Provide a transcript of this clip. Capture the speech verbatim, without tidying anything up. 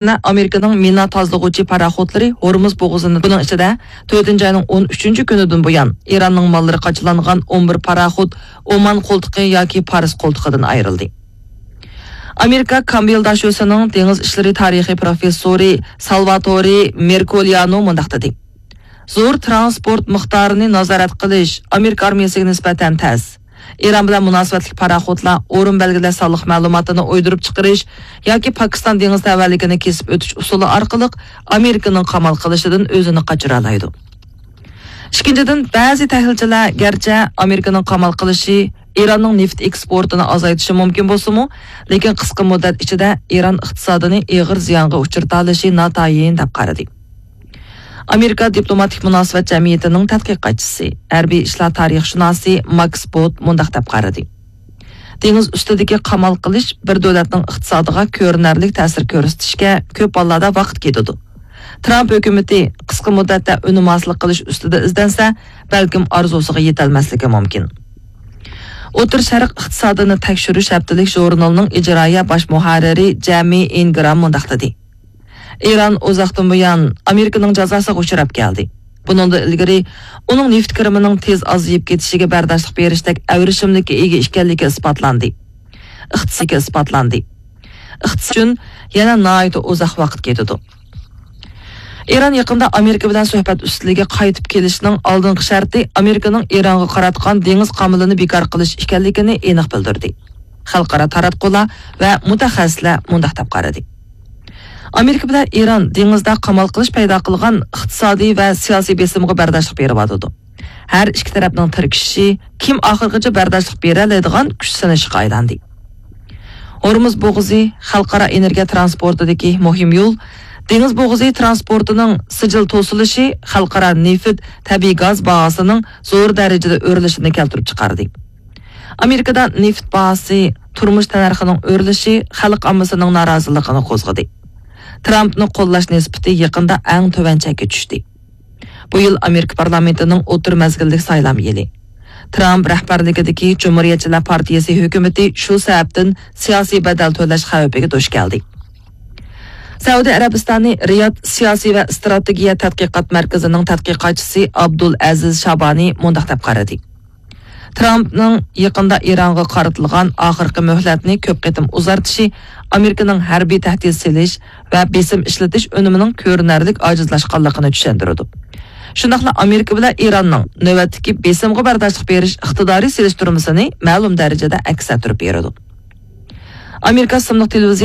ئامېرىكىنىڭ مىنا تازىلىغۇچى پاراخوتلىرى ھورمۇز بوغۇزىنى، بۇنىڭ ئىچىدە تۆتىنچى ئاينىڭ ئون ئۈچىنچى كۈنىدىن بۇيان ئىراننىڭ ماللىرى قاچىلانغان ئون بىر پاراخوت ئومان قولتۇقى ياكى پارس قولتۇقىدىن ئايرىلدى. ئامېرىكا كامبېل داشۆسىنىڭ دېڭىز ئىشلىرى تارىخى پروفېسسورى سالۋاتورى مېركوليانو مۇنداق دېدى: زور تىرانسپورت مىقدارىنى نازارەت قىلىش ئامېرىكا ئارمىيەسىگە نىسبەتەن تەس. ئىران بىلەن مۇناسىۋەتلىك پاراخوتلار ئورۇن بەلگىلەش سانلىق مەلۇماتىنى ئويدۇرۇپ چىقىرىش ياكى پاكىستان دېڭىز تەۋەلىكىنى كېسىپ ئۆتۈش ئۇسۇلى ئارقىلىق ئامېرىكىنىڭ قامال قىلىشىدىن ئۆزىنى قاچۇرالايدۇ. ئىككىنچىدىن، بەزى تەھلىلچىلەر گەرچە ئامېرىكىنىڭ قامال قىلىشى ئىراننىڭ نېفىت ئېكسپورتىنى ئازايتىشى مۇمكىن بولسىمۇ، لېكىن قىسقا مۇددەت ئىچىدە ئىران ئىقتىسادىنى ئېغىر زىيانغا ئۇچرىتالىشى ناتايىن دەپ قارىدى. ئامېرىكا دىپلوماتىك مۇناسىۋەت جەمئىيىتىنىڭ تەتقىقاتچىسى، ھەربىي ئىشلار تارىخشۇناسى ماكس بوت مۇنداق دەپ قارىدى: دېڭىز ئۈستىدىكى قامال قىلىش بىر دۆلەتنىڭ ئىقتىسادىغا كۆرۈنەرلىك تەسىر كۆرسىتىشكە كۆپ ھاللاردا ۋاقىت كېتىدۇ. ترامپ ھۆكۈمىتى قىسقا مۇددەتتە ئۈنۈم ھاسىل قىلىش ئۈستىدە ئىزدەنسە، بەلكىم ئارزۇسىغا يېتەلمەسلىكى مۇمكىن. ئوتتۇرا شەرق ئىقتىسادىنى تەكشۈرۈش ھەپتىلىك ژۇرنىلىنىڭ ئىجرائىيە باش مۇھەررىرى جەمى ئىنگرام مۇنداق دېدى: ئىران ئۇزاقتىن بۇيان ئامېرىكىنىڭ جازاسىغا ئۇچراپ كەلدى. بۇنىڭدىن ئىلگىرى ئۇنىڭ نېفىت كىرىمىنىڭ تېز ئازىيىپ كېتىشىگە بەرداشلىق بېرىشتەك ئەۋرىشىملىككە ئىگە ئىكەنلىكى ئىسپاتلاندى. ئىقتىسادقا ئىسپاتلاندى. ئىقتىساد ئۈچۈن يەنە ناھايىتى ئۇزاق ۋاقىت كېتىدۇ. ئىران يېقىندا ئامېرىكا بىلەن سۆھبەت ئۈستىلىگە قايتىپ كېلىشنىڭ ئالدىنقى شەرتى ئامېرىكىنىڭ ئىرانغا قاراتقان دېڭىز قامىلىنى بىكار قىلىش ئىكەنلىكىنى ئېنىق بىلدۈردى. خەلقئارا تاراتقۇلار ۋە مۇتەخەسسىسلەر مۇنداق دەپ قارىدى: ئامېرىكا بىلەن ئىران دېڭىزدا قامال قىلىش پەيدا قىلغان ئىقتىسادىي ۋە سىياسىي بېسىمغا بەرداشلىق بېرىۋاتىدۇ. ھەر ئىككى تەرەپنىڭ تىركىشىشى كىم ئاخىرغىچە بەرداشلىق بېرەلەيدىغان كۈچ سىنىشىغا ئايلاندى. ھورمۇز بوغۇزى خەلقئارا ئېنېرگىيە ترانسپورتىدىكى مۇھىم يول، دېڭىز بوغۇزى ترانسپورتىنىڭ سىجىل توسۇلۇشى خەلقئارا نېفىت، تەبىئىي گاز باھاسىنىڭ زور دەرىجىدە ئۆرلىشىنى كەلتۈرۈپ چىقاردى. ئامېرىكىدا نېفىت باھاسى، تۇرمۇش تەننەرخىنىڭ ئۆرلىشى خەلق ئاممىسىنىڭ نارازىلىقىنى قوزغىدى. ترامپنى قوللاش نىسبىتى يېقىندا ئەڭ تۆۋەن چەككە چۈشتى. بۇ يىل ئامېرىكا پارلامېنتىنىڭ ئوتتۇرا مەزگىللىك سايلام يىلى. ترامپ رەھبەرلىكىدىكى جۇمھۇرىيەتچىلەر پارتىيىسى ھۆكۈمىتى شۇ سەۋەبتىن سىياسىي بەدەل تۆلەش خەۋپىگە دۇچ كەلدى. سەئۇدى ئەرەبىستانى رىياد سىياسىي ۋە ئىستراتېگىيە تەتقىقات مەركىزىنىڭ تەتقىقاتچىسى ئابدۇل ئەزىز شابانى مۇنداق دەپ قارىدى: ترامپنىڭ يېقىندا ئىرانغا قارىتىلغان ئاخىرقى مۆھلەتنى كۆپ قېتىم ئۇزارتىشى ئامېرىكىنىڭ ھەربىي تەھدىت سېلىش ۋە بېسىم ئىشلىتىش ئۈنۈمىنىڭ كۆرۈنەرلىك ئاجىزلاشقانلىقىنى چۈشەندۈرىدۇ. شۇنداقلا ئامېرىكا بىلەن ئىراننىڭ نۆۋەتتىكى بېسىمغا بەرداشلىق بېرىش ئىقتىدارى سېلىشتۇرمىسىنى مەلۇم دەرىجىدە ئەكس ئەتتۈرۈپ بېرىدۇ. ئامېرىكا ئىسىملىق تېلېۋىزىيە